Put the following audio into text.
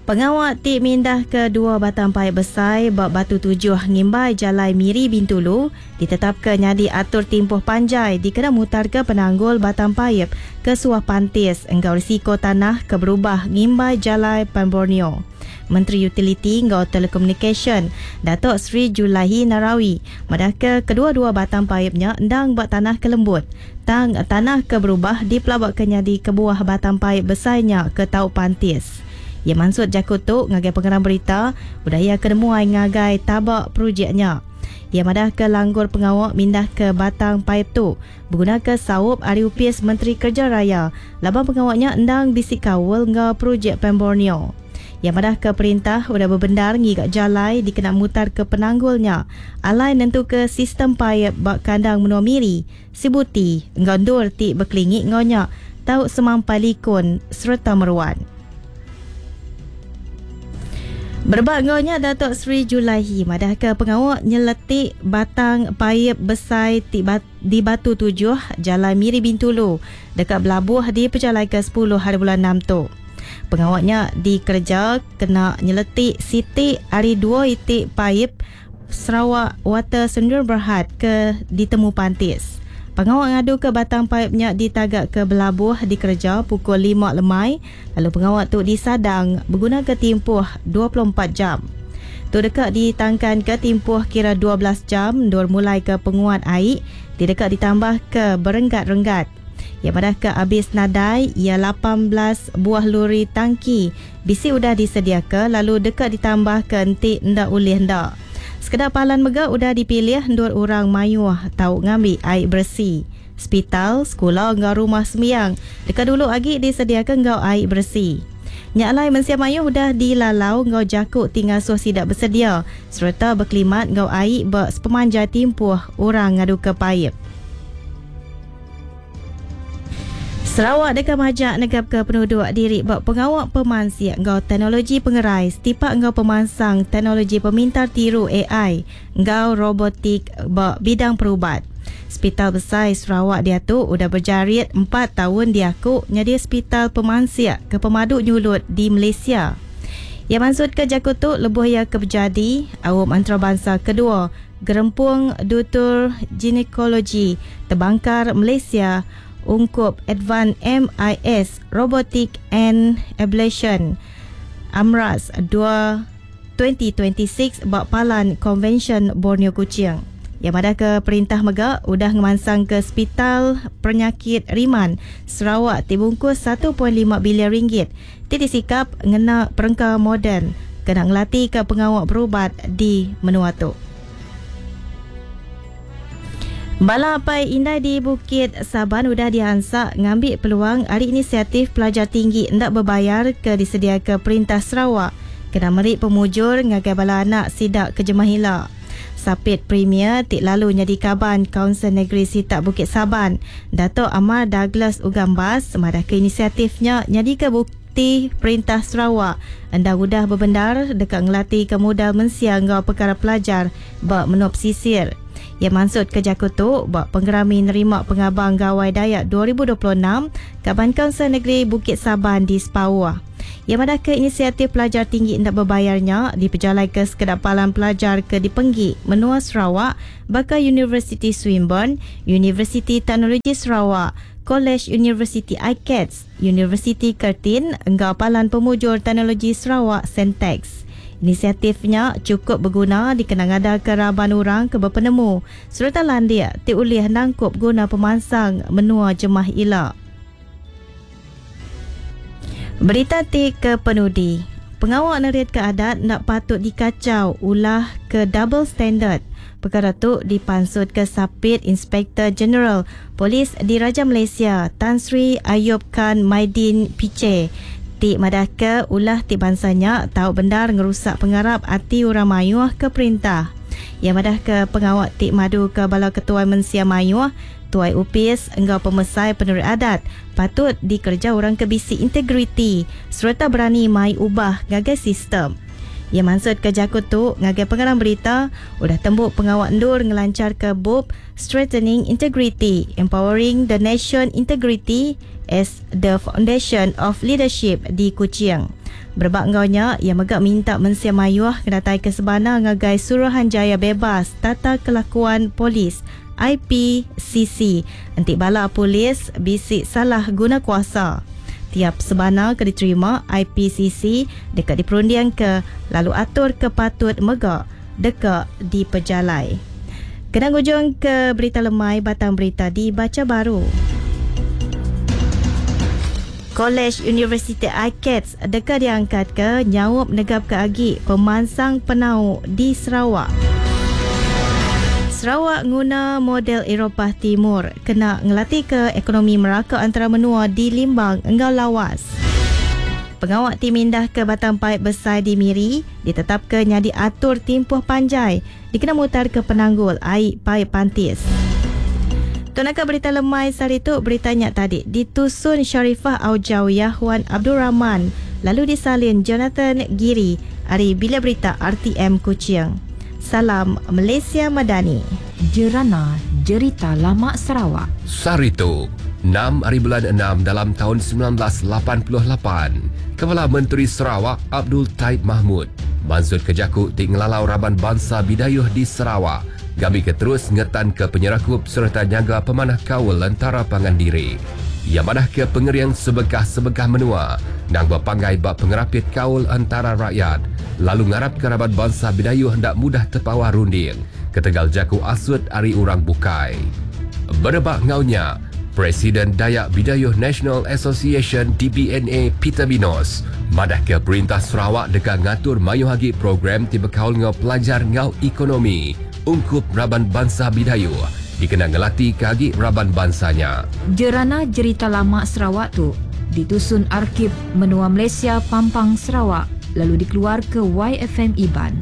Pengawa ti mindah ke dua batang paip besai ba Batu Tujuh ngimbai Jalai Miri Bintulu ditetapka nyadi atur timpuh panjai dikena mutarka penanggul batang paip ke suah pantis enggau risiko tanah ke berubah ngimbai Jalai Pan Borneo. Menteri Utiliti enggau Telekomunikasyen, Datuk Seri Julaihi Narawi madahka kedua-dua batang paip nya endang ba tanah ke lembut tang tanah ke berubah dipelabaka nyadi kebuah batang paip besai nya ke tau pantis. Iya mansut jaku tu ngagai pengerang berita udah iya ke nemuai ngagai taba projek nya. Iya madahka langgur pengawa mindahka batang paip tu begunaka saup ari Opis Menteri Kerja Raya laban pengawa nya endang bisi kaul enggau projek Pan Borneo. Iya madahka perintah udah bebendar ngiga jalai dikena mutarka penanggul nya alai nentuka sistem paip ba kandang menua Miri, Sibuti enggau endur ti bekelingi enggau nya tau semampai likun sereta meruan. Berebak enggau nya Datuk Seri Julaihi madahka pengawa nyeletik batang paip besai ti di Batu Tujuh, Jalai Miri Bintulu deka belabuh dipejalaika sepuluh hari bulan enam tu. Pengawa nya dikereja kena nyeletik siti ari dua iti paip Sarawak Water Sendirian Berhad ke ditemu pantis. Pengawa ngaduka batang paip nya ditagaka belabuh dikereja pukul lima lemai lalu pengawa tu disadang begunaka timpuh 24 jam. Tu deka ditangkanka timpuh kira 12 jam endur mulaika penguat ai ti deka ditambahka berenggat-renggat. Iya madahka abis nadai iya 18 buah luri tangki bisi udah disediaka lalu deka ditambahka enti enda ulih enda. Sekeda palan mega udah dipilih endur orang mayuh tau ngambi ai beresi. Sepital, sekula enggau rumah sembiang deka dulu agi disediaka enggau ai beresi. Nya alai mensia mayuh udah dilalau enggau jaku ti ngasuh sida besedia sereta bekelimat enggau ai ba sepemanjai timpuh orang ngaduka paip. Sarawak deka majak negapka penuduk diri ba pengawa pemansik enggau teknologi pengerai setipak enggau pemansang teknologi pemintar tiru ai enggau robotik ba bidang perubat. Sepital Besai Sarawak diatu udah bejarit empat taun diaku nyadi sepital pemansik ke pemadu nyulut di Malaysia. Iya mansutka jaku tu lebuh iya ke bejadi Aum Antarabansa Kedua Gerempung Dutur Ginekologi Tebangkar Malaysia ungkup Advan MIS Robotic and Ablation, AMRAS, dua 2026 ba Palan Konvensyen Borneo Kuching. Iya madahka perintah mega udah ngemansangka Sepital Penyakit Riman Sarawak ti bungkus 1.5 bilion ringgit ti disikap ngena perengka moden kena ngelatika pengawa berubat di menua tu. Bala apai indai di Bukit Saban udah diansak ngambi peluang ari inisiatif pelajar tinggi enda bebayar ke disediaka Perintah Sarawak kena meri pemujur ngagai bala anak sida ke jemah ila. Sapit Premier ti lalu nyadi kaban Kaunsil Negeri Sitak Bukit Saban, Datuk Amar Douglas Ugambas madahka inisiatif nya nyadika bukti Perintah Sarawak endang udah bebendar deka ngelatika mudal mensia enggau pekara pelajar ba menua pesisir. Iya mansutka jaku tu ba Pengerami Nerima Pengabang Gawai Dayak 2026 Kaban Kaunsil Negeri Bukit Saban di Sepauh. Iya madahka inisiatif pelajar tinggi enda bebayar nya dipejalaika sekeda palan pelajar ke dipenggi menua Sarawak baka Universiti Swinburne, Universiti Teknologi Sarawak, Kolej Universiti ICATS, Universiti Curtin enggau Palan Pemujur Teknologi Sarawak, Centexs. Inisiatif nya chukup beguna dikena ngadaka raban orang ke bepenemu sereta landik ti ulih nangkup guna pemansang menua jemah ila. Berita ti ke penudi, pengawa neritka adat enda patut dikachau ulah ke double standard. Pekara tu dipansutka Sapit Inspektor Jeneral Polis Diraja Malaysia Tan Sri Ayob Khan Mydin Piche ti madahka ulah ti bansa nya tau bendar ngerusak pengarap ati orang mayuh ke perintah. Iya madahka pengawa ti maduka bala ketuai mensia mayuh Tuai opis enggau pemesai penerit adat patut dikereja orang ke bisi integriti sereta berani mai ubah ngagai sistem. Iya mansutka jaku tu ngagai pengarang berita udah tembu pengawa endur ngelancharka bup Strengthening Integrity, Empowering the Nation Integrity as the Foundation of Leadership di Kuching. Berebak enggau nya, iya mega minta mensia mayuh ngenatai ke sebana ngagai Suruhanjaya Bebas Tata Kelakuan Polis, IPCC, enti bala polis bisi salah guna kuasa. Tiap sebana ke diterima IPCC deka diperundingka lalu atur ke patut mega deka dipejalai. Kena ngujung ke berita lemai batang berita dibaca baru. Kolej Universiti ICATS deka diangkat ke nyaup negap ke agi pemansang penau di Sarawak. Sarawak nguna model Eropah Timur kena ngelati ke ekonomi meraka antara menua di Limbang enggau Lawas. Pengawak ti mindah ke Batang Paip Besai di Miri ditetap ke nyadi atur timpuh panjai dikena mutar ke penanggul air paip pantis. Tuan akak berita lemai sehari tu beritanya tadi ditusun Sharifah Aujawiyah Wan Abdul Rahman lalu disalin Jonathan Giri hari Bila Berita RTM Kuching. Salam Malaysia Madani. Jerana Jerita Lama Sarawak. Saritu, 6 hari bulan 6 dalam tahun 1988, Kepala Menteri Sarawak Abdul Taib Mahmud mansut kejaku ti ngelalau raban bangsa Bidayuh di Sarawak gabi ke terus ngetan ke penyerakup serta nyaga pemanah kaul antara pangan diri. Ia madah ke pengering sebegah-sebegah menua nang berpanggai bak pengerapit kaul antara rakyat lalu ngarap ke raban bangsa Bidayuh hendak mudah terpawah runding ketegal jaku asut ari orang bukai. Berebak ngaunya, Presiden Dayak Bidayuh National Association DBNA Peter Binos madah ke Perintah Sarawak dekat ngatur mayuh agi program ti bekaul ngau pelajar ngau ekonomi ungkup raban bangsa Bidayuh dikena ngelati ke agi raban bangsanya. Jerana Jerita Lama Sarawak tu ditusun Arkib Menua Malaysia Pampang Sarawak lalu dikeluar ke YFM Iban.